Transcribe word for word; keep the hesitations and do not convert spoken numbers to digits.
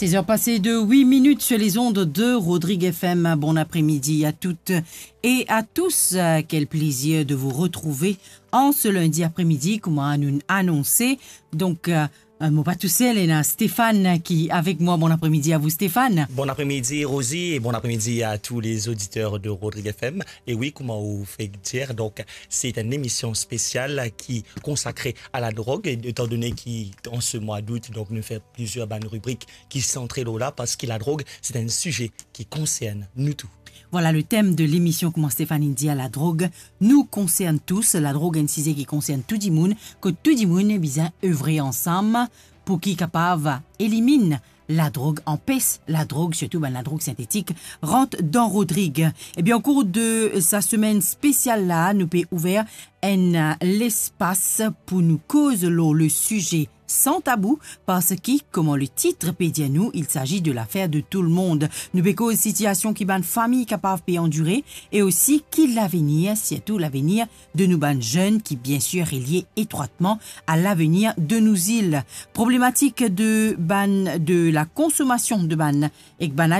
Seize heures passées de huit minutes sur les ondes de Rodrigue F M. Bon après-midi à toutes et à tous. Euh, quel plaisir de vous retrouver en ce lundi après-midi, kouma nou anonse. Donk, euh, euh, mo pa tousel, ena Stéphane ki avek mwa. Bon après-midi à vous, Stéphane. Bon après-midi, Rosie, et bon après-midi à tous les auditeurs de Rodrigue F M. Et oui, kouma ou fek dir, donk, c'est une émission spéciale qui consacrée à la drogue, étant donné qu'en ce mois d'août, donk, nou fer plizier bann ribrik ki santre lor la, parski ladrog, se enn size ki konsern nou tou. Vwala le tem de lemision, kouma Stéphane inn dir, ladrog nou konsern tous. Ladrog enn size ki konsern tou dimoun, kot tou dimoun bizin evre ansam pou ki kapav eliminn ladrog, anpes ladrog, sirtou bann ladrog sintetik, rant dan Rodrig. Ebien, o kour de sa semenn spesial la, nou pe ouver enn, euh, lespas pou nou koz lor le size san tabou, parski, kouma le tit pe dir nou, il s'agit de l'affaire de tout le monde. Nou pe koz sitiasion ki bann fami kapav pe andire, e osi ki lavenir, sirtou lavenir de nou bann zenn ki, biensir, relie etrwatman a lavenir de nou zil. Problematik de bann, de la konsomasion de bann, ek bann